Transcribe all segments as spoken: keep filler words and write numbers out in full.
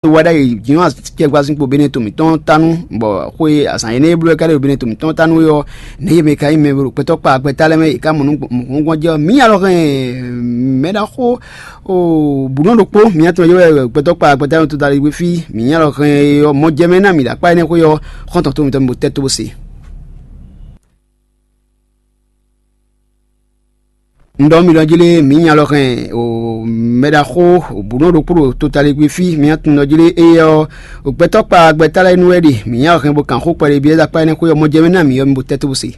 Wa ɖ'ayǐ jǐnɔ acɛkpazínkpo Benɛto mǐtɔn tánú, bɔ xwe azǎn énɛ́ e bló wɛ ka ɖe ɖo Benɛto mǐtɔn tánú é ɔ́, nɛ̌ yě mɛ ka nyí mɛ e ɖo gbɛtɔ́ kpa gbɛta lɛ́ɛ mɛ, yě ká mɔ nǔ gbɔn jɛ ɔ́? Mǐ nya lɔ hɛn mɛ ɖaxó bǔnɔ ɖokpó, mǐ nya tɔn yě wɛ gbɛtɔ́ kpa gbɛta lɛ́ɛ mɛ tota ɖe fí, mǐ nya lɔ hɛn ɔ́, mɔ jɛ mɛ ná mǐ ɖo akpá énɛ́ xwé ɔ́, xɔ́ntɔn tó mǐtɔn mì bo tɛ́ tó bó se. Un ɖɔ mi ɖɔ jí lé, mǐ nya lɔ hɛn o mɛ ɖaxó bǔnɔ ɖokpó ɖo totaligbé fí, mǐ nya tunwun ɖɔ jí lé, éyɛ́ ɔ́, o gbɛtɔ́ kpa gbɛta lɛ́ɛ nu wɛ ɖe, mǐ nya lɔ hɛn bó kan xó kpɛɖé byɔ́ akpá énɛ́ xwé ɔ́, mɔ jɛ mɛ ná mǐ ɔ́, mi bo tɛ́ tó bó se.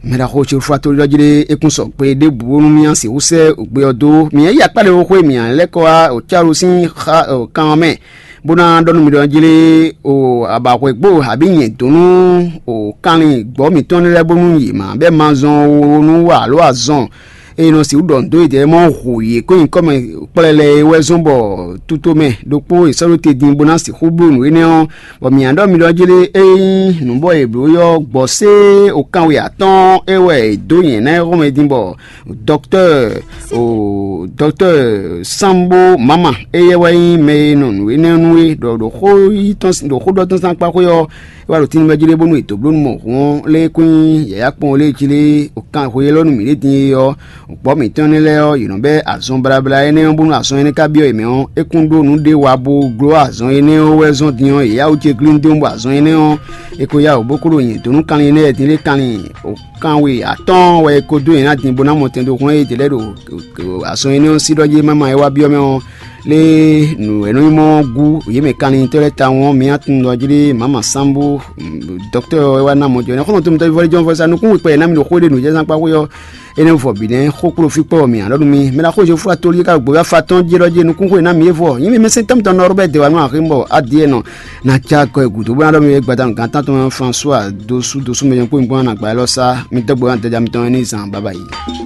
Mɛ ɖaxó Cefúatoli ɖɔ jí lé, é kún sɔ gbe ɖěbǔ bónú mì nya sixú sɛ́ gbe ɔ́ dó. Mǐ nya yi akpá ɖé xó xwé, mǐ nya lɛ́ kɔ wá o Cálosín xa kan ɔ́ mɛ, bó ná ɖɔ nú mi ɖɔ jí lé, o abǎhwɛ́gbo abǐ nyɛ̌dónú o kanlin gbɔ̌ mǐtɔn lɛ́ɛ bónú yě má bɛ́ mazɔn ó nú wa alǒ azɔn e nɔ sixú ɖɔ nǔ dó yědɛɛ mɔ hu yě kó nyí kɔ́mɛ kplɛlɛ é wɛ zɔ́n bɔ tutomɛ ɖokpó è sɔ́ ɖó te din bó ná sixú bló nǔ énɛ́ ɔ́, bɔ mǐ nya ɖɔ mi ɖɔ jí lé, ényí nǔ bɔ è blǒ ɔ́ gbɔ̌ sé o kanwe atɔ́ɔ́n é wɛ è dó nyɛ̌ ná é xɔmɛ din bɔ dɔktɔ́ɔ o dɔktɔ́ɔ Sambo Mama, éyɛ́ wɛ nyí mɛ e nɔ nǔ énɛ́ nú é, ɖɔ ɖo xó yi tɔn ɖo xó ɖɔ tɔn sín akpá xwé ɔ́, é wá ɖo tínúmɛ jí ɖé bónú è dǒ bló nú mɔ hǔn ɔ́, lé kún nyí yǎyá kpɔ́n lé jí lé o kan xwe élɔ́ nú mǐ ɖé din é ɔ́, gbɔ̌ mǐtɔn énɛ́ lɛ́ɛ ɔ́, yě nɔ bɛ́ azɔn blabla énɛ́ ɔ́ bónú azɔn énɛ́ ka byɔ́ yě mɛ ɔ́, é kún ɖó nǔ ɖé wa bó gló azɔn énɛ́ ɔ́ wɛ zɔ́n din ɔ́, yě yá wú ce glíndín bɔ azɔn énɛ́ ɔ́, è ko yá wǔ bó kó ɖo nyɛ dó nú kanlin énɛ́ lɛ́ɛ din lé kanlin kanwe atɔ́ɔ́n wɛ è ko dó yě ná din bó ná mɔ tɛn ɖo hɔn e ɖě lɛ́ɛ ɖo azɔn énɛ́ ɔ́ sí ɖɔ jí mama e wá byɔ́ mɛ ɔ́, lé nǔ e nɔ nyí mɔ ɔ́ gú yě mɛ kanlintɔ́ lɛ́ɛ tawun ɔ́, mi ná tunwun ɖɔ jí ɖé mama sambo dɔktɔ́ e wá ná mɔ jɔ nɛ́ xɔ́ntɔn tɔn mi tɔ́jú vɔ́lí jɔ́n vɔ́sá nukún wekpɛ e ná mi ɖo xó ɖé nǔ jɛ zán kpá xwé ɔ́, énɛ́ vɔ bǐ nɛ́ xó kpló fí kpɔ́ mǐ ǎ ɖɔ nú mi mɛ ná xó Jezu fla tolú ká gbo wá fa tɔn jí ɖɔ jí nukún xó e ná mi é vɔ nyí mi mɛ sɛn tɔ́ mitɔn nɔ Robert de wa nú axé bɔ adie nɔ na ja kɔ e gǔdo bó ná ɖɔ mi é gbada nú gǎn tán tɔn François dosu dosu mɛ nyɔ́kpó mi gbɔn ná gba élɔ́ sá mi dɔgbo ná dɛja mitɔn ní zan baba yi.